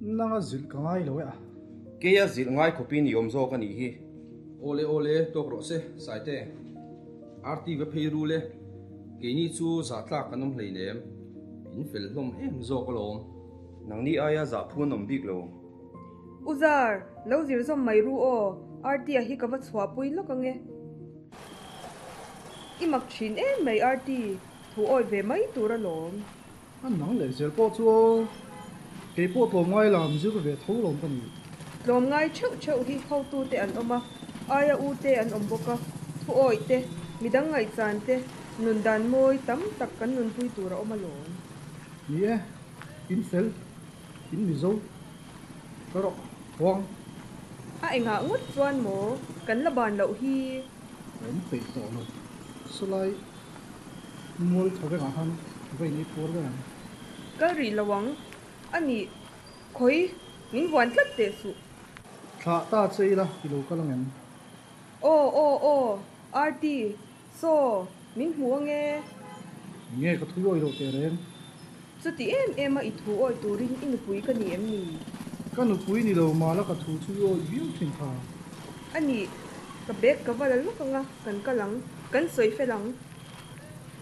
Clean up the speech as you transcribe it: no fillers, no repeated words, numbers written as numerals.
Nanga zilh ka ngai lo e a. Keia zilh ngai khawpin i awm zawk a nih hi. Awle awle, tawk rawh se, Saite. Arti va phei rul e. Keini chu zah tlak kan awm hleinem. In fel hlawm em zawk alawm. Nangni aia zah phu an awm bik lo. U Zar, lo zir zawm mai ru aw, Arti-a hi ka va chhuahpui lawk ange. I mak thin em mai Arti, thu awi ve mai tur alawm. A nang leh zel pawh chu aw, kei pawh tlawmngai lam zir ve tho lawm ka ni. Tlawmngai theuh theuh hi hotute an awm a, aia u te an awm bawk a, thu awih te, midang ngaihchan te, nun dan mawi tam tak kan nunpui tur a awm alawm. Ni e, in fel, in Mizo, ka rawh huang. A engah ngawt chuan maw kan la ban loh hi? Ka awm peih tawh lo, sawlai. Mual tho vekah khan va in ei puar ber ang. Kal rih lo ang. A nih, khawi, min vuan tlat teh suh. Thlah ta che ila i lo kal ang em? Aw, aw, aw, Arti, saw, min hmu ang e. Nge ka thu awi loh teh reng? Chuti em em a i thu awi turin i nupui ka ni em ni? Ka nupui ni lo mala ka thu chu i awi viau thin kha. A nih, ka bag ka va la lawk ang a, kan kal ang, kan sawi fel ang.